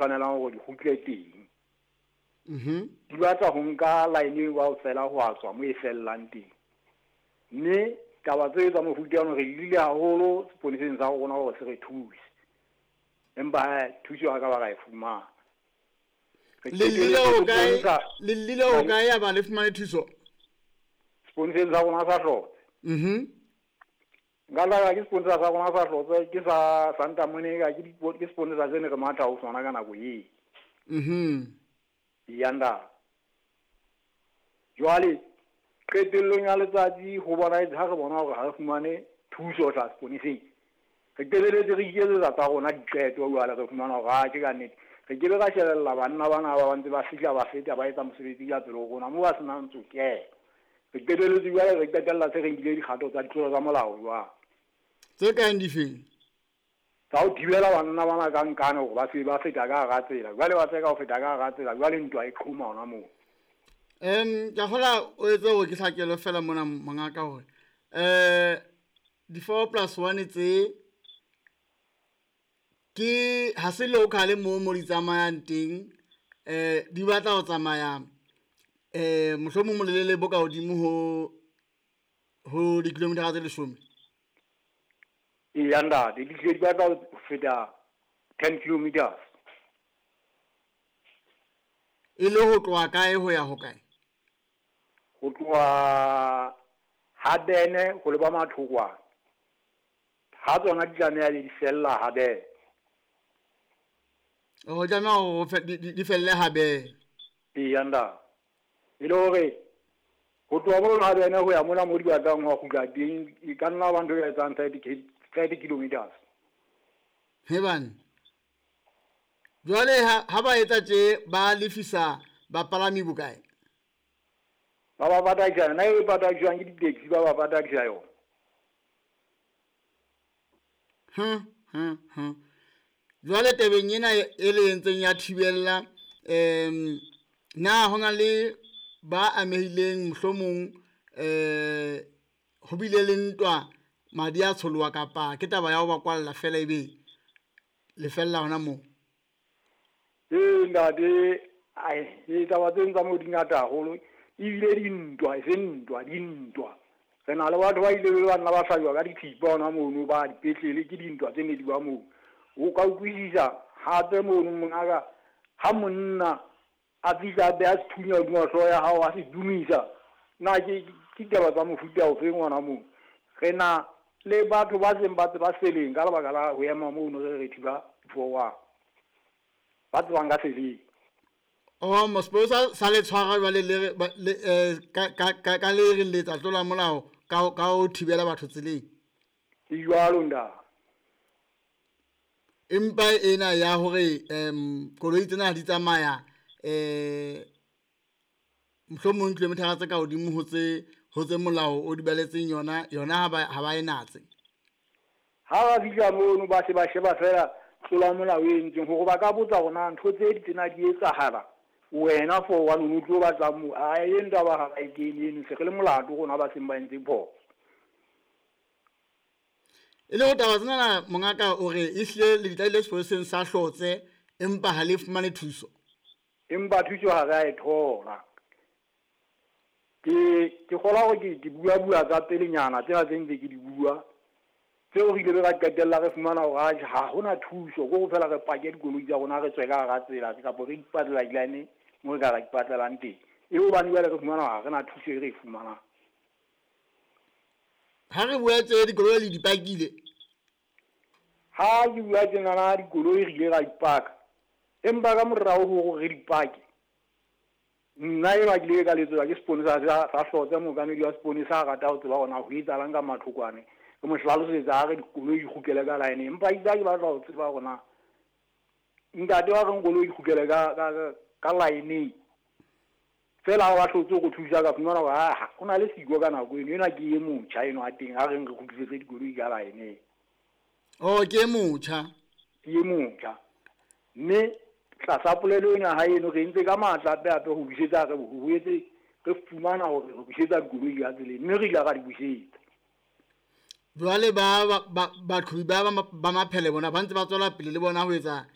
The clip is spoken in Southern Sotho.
tshwanelang hore di kgutle teng. Di batla ho nka line eo kaofela ho a tswa mo e fellang teng. Mme taba tse tsa mofuta ono re llile haholo seponeseng sa rona hore se re thuse. Empa hee thuso ha ka ba ra e fumana. Re Le llile qetelletse ho re kae? bontsha Le llile ho kae ya ba le fumane thuso? Seponeseng sa rona sa Hlotse. Nka tla ke seponesa sa rona sa Hlotse ke sa Santa Monica ke ke seponesa se ne re matha ho sona ka nako eo. Eya ntate. Jwale qetellong ya letsatsi ho bonahetse ha re bona hore ha re fumane thuso ho tla seponeseng. Re qetelletse re iketsetsa tsa rona diqeto jwale re fumana hore atjhe ka nnete. Re ke be ra shebella banna bana ba ba ntse ba fihla ba feta ba etsa mosebetsi ka pele ho rona moo ba senang tsokelo. Re qetelletse jwale re qetella se re nkile dikgato tsa ditlolo tsa molao jwale. Tse kang difeng? Tsa ho thibela banna bana ka nkane hore ba se ba feta ka hara tsela. Jwale ba tseka ho feta ka hara tsela, jwale ntwa e qhoma hona moo. Ke a kgola o etse hore ke hlakelwe fela mona mongaka hore di 4+1 tse ke ha se local mo mo di tsamayang teng, di batla ho tsamaya mohlomong molelele bo ka hodimo ho di-kilometer tse 10. Eya ntate, di hlile di batla ho feta 10 kilometers. E le ho tloha kae ho ya ho kae? Ho tloha Habene ho leba Mathokwana. Ha tsona di tlameha di fella Habene. O tlameha hore di felle Habene. Eya ntate. E le hore ho tloha mono Habene ho ya mona mo di batlang ho kgutla teng e ka nna ba ntho e etsang 30 kilometers. He bana. Jwale ha ba etsa tje ba lefisa bapalami bokae? Ba ba patadisa yona e patadiswang ke di-taxi ba ba patadisa yona. Jwale tabeng ena e le entseng ya thibella na hona le ba amehileng mohlomong ho bile le ntwa madi a tsholoha kapa ke taba ya ho ba kwalla fela ebe le fella hona moo? Ee ntate, ai taba tse tsa moo di ngata haholo ebile dintwa e se ntwa dintwa. Re na le batho ba ile ba nna ba hlajwa ka dithipa hona mono ba dipetlele ke dintwa tse ne di ba moo. O ka utlwisisa hape mono mongaka ha monna a fihla a beha sethunya hodima hlooho ya hao a se dumisa. Na ke ditaba tsa mofuta ofeng hona moo? Re na le batho ba seng ba tseba seleng ka lebaka la ho ema mono re re thiba 4-1. Ba tsebang ka seleng. Oh, mosposa sa le tshwara jwale le le ka le re letsa tlola molao ka ho thibela batho tseleng. E jwalo nda. Empa ena ya hore koloi tsena di tsamaya mohlomong kilometer tse ka hodimo ho tse molao o di baletseng yona yona ha ba e natse. Ha ba fihla mono ba se ba sheba fela tlola molao e entseng hore ba ka botsa hore na ntho tse di tsena di etsahala wena 4-1 o tlo batla mo a e ndaba ha ba e kene eno se re le molato rona ba seng ba entse phoso. E le ho taba tsena mongaka o re ehlile le ditlaile sepoleseng sa Hlotse empa ha le fumane thuso. Empa thuso ha re a e thola. Ke kgola hore ke bua tsa pelenyana tsena tse ntse ke di bua. Tseo re ile ra qetella re fumana hore ha hona thuso ko fela re pake dikoloi tsa rona re tswe ka hara tsela kapa re ipatlela di-line mo re ka ra ipatlelang teng. E hobane jwale re fumana hore ha re na thuso e re e fumanang. Ha re bua tse dikoloi le dipakile. Ha ke bua tjenana dikoloi re ile ra dipaka. Empa ka morao hore re dipake. Nna enwa ke ile ka letsetswa ke seponesa sa Hlotse, mookamedi wa seponesa a rata ho tseba hore na ho etsahalang ka Mathokwane. Ke mo hlalosetsa a re dikoloi di kgutlele ka line empa itse ha ke batla ho tseba hore na ntate wa reng koloi di kgutlele ka line. Fela ha ba hlotse ho thusa ka fumana hore ha o na le siko ka nako eno ena ke e motjha eno a teng a reng re kgutlisetse dikoloi ka line. Oh, ke e motjha. Ke e motjha. Mme tlasa polelo ena ha eno re entse ka matla hape hape ho busetsa re ho etse re fumana hore re busetsa dikoloi ka tseleng mme re ile ra di busetsa. Jwale ba baqhobi ba maphele bona ba ntse ba tswela pele le bona ho etsa